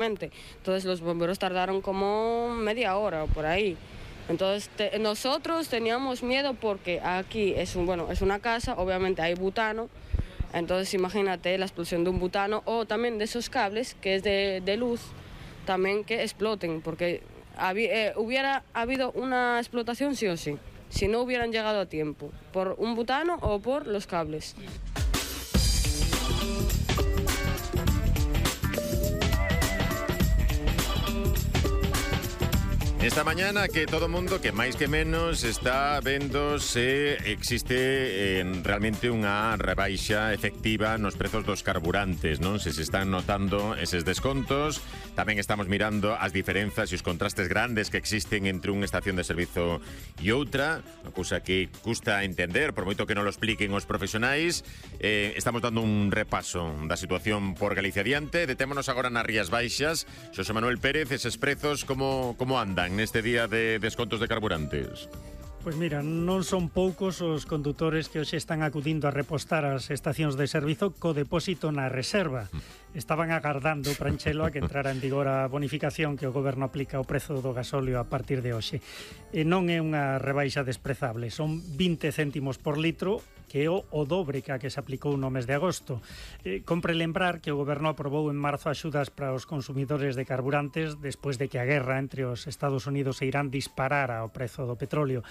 Entonces los bomberos tardaron como media hora o por ahí. Entonces nosotros teníamos miedo porque aquí es una casa, obviamente hay butano, entonces imagínate la explosión de un butano o también de esos cables que es de luz, también que exploten, porque hubiera habido una explotación sí o sí, si no hubieran llegado a tiempo, por un butano o por los cables. Esta mañana que todo mundo, que máis que menos, está vendo se existe realmente unha rebaixa efectiva nos prezos dos carburantes, non? Se están notando eses descontos. Tamén estamos mirando as diferenzas e os contrastes grandes que existen entre unha estación de servizo e outra, unha cousa que custa entender, por moito que non lo expliquen os profesionais. Estamos dando un repaso da situación por Galicia adiante. Detémonos agora nas Rías Baixas. Xosé Manuel Pérez, eses prezos como andan neste día de descontos de carburantes? Pois mira, non son poucos os condutores que hoxe están acudindo a repostar as estacións de servizo co depósito na reserva. Estaban agardando, Pranchelo, a que entrara en vigor a bonificación que o goberno aplica ao prezo do gasóleo a partir de hoxe. E non é unha rebaixa desprezable, son 20 céntimos por litro, que é o dobre que a que se aplicou no mes de agosto. Compre lembrar que o goberno aprobou en marzo axudas para os consumidores de carburantes despois de que a guerra entre os Estados Unidos e Irán disparara o prezo do petróleo.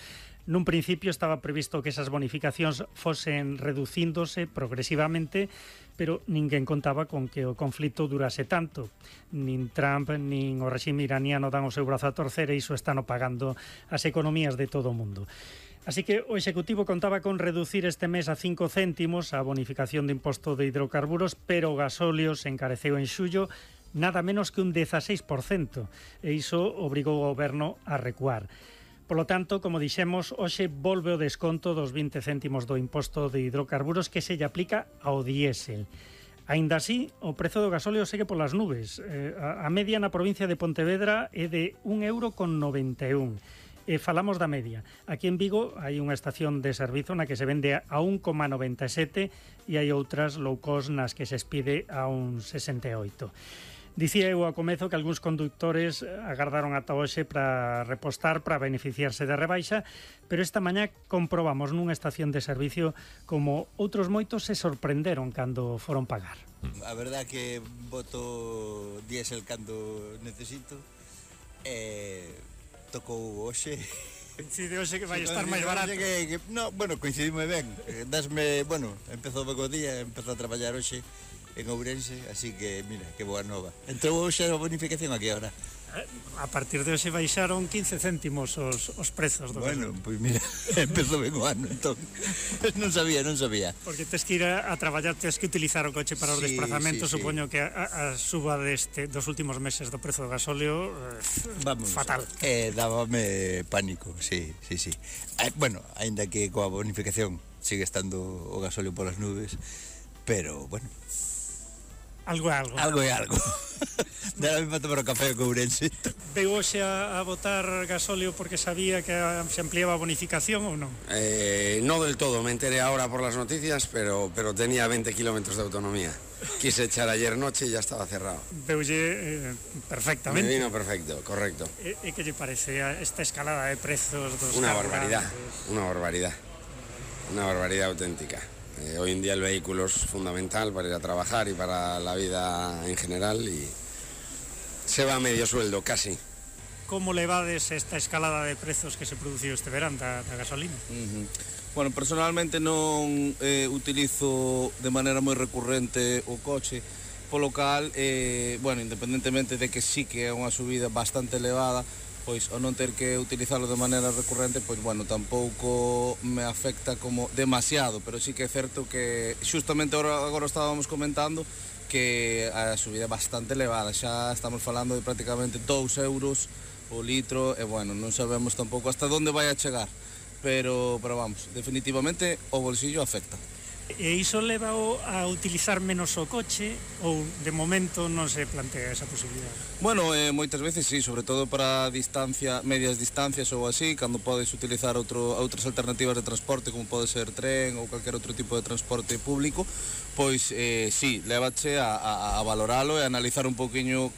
Nun principio estaba previsto que esas bonificacións fosen reducíndose progresivamente, pero ninguén contaba con que o conflito durase tanto. Nin Trump, nin o réxime iraniano dan o seu brazo a torcer e iso están pagando as economías de todo o mundo. Así que o Executivo contaba con reducir este mes a 5 céntimos a bonificación de imposto de hidrocarburos, pero o gasóleo se encareceu en xullo nada menos que un 16%, e iso obrigou o goberno a recuar. Polo tanto, como dixemos, hoxe volve o desconto dos 20 céntimos do imposto de hidrocarburos que se lle aplica ao diésel. Aínda así, o prezo do gasóleo segue polas nubes. A media na provincia de Pontevedra é de 1,91 €. Falamos da media. Aquí en Vigo hai unha estación de servizo na que se vende a 1,97 e hai outras low cost nas que se expide a 1,68. Dicía eu ao comezo que algúns condutores agardaron ata hoxe para repostar, para beneficiarse da rebaixa, pero esta mañá comprobamos nunha estación de servicio como outros moitos se sorprenderon cando foron pagar. A verdad que boto diésel cando necesito e tocou hoxe. Coincide hoxe que vai estar máis barato. Coincidime ben. Empezo o día, empezo a traballar hoxe en Ourense, así que, mira, que boa nova. Entrou hoxe a bonificación aquí agora. A partir de hoxe baixaron 15 céntimos os prezos do Bueno, pois mira, empezou ben o ano, entón. Non sabía. Porque tes que ir a traballar, tes que utilizar o coche para os desplazamentos, supoño que a suba dos últimos meses do prezo do gasóleo fatal. Dábame pánico, sí. Aínda que coa bonificación sigue estando o gasóleo polas nubes, pero, bueno, Algo é algo. Dera me para tomar o café co Ourense. Veu hoxe a botar gasóleo porque sabía que se ampliaba a bonificación ou non? No del todo, me enteré ahora por las noticias, pero tenía 20 kilómetros de autonomía. Quise echar ayer noche y ya estaba cerrado. Veulle perfectamente. Me vino perfecto, correcto. E que lle parece esta escalada de prezos dos Una carburantes? Una barbaridad auténtica. Hoy en día el vehículo es fundamental para ir a trabajar y para la vida en general y se va a medio sueldo, casi. Como levades esta escalada de prezos que se produciu este verán da gasolina? Bueno, personalmente non utilizo de maneira moi recurrente o coche, polo cal, independentemente de que sí que é unha subida bastante elevada, pois ao non ter que utilizarlo de maneira recurrente, pois tampouco me afecta como demasiado, pero sí que é certo que justamente agora estábamos comentando que a subida é bastante elevada, xa estamos falando de prácticamente 2 euros o litro e non sabemos tampouco hasta onde vai a chegar, pero vamos, definitivamente o bolsillo afecta. E iso leva a utilizar menos o coche ou de momento non se plantea esa posibilidade? Bueno, moitas veces sí, sobre todo para medias distancias ou así, cando podes utilizar outras alternativas de transporte como pode ser tren ou calquer outro tipo de transporte público, pois sí, lévache a valoralo e a analizar un poquinho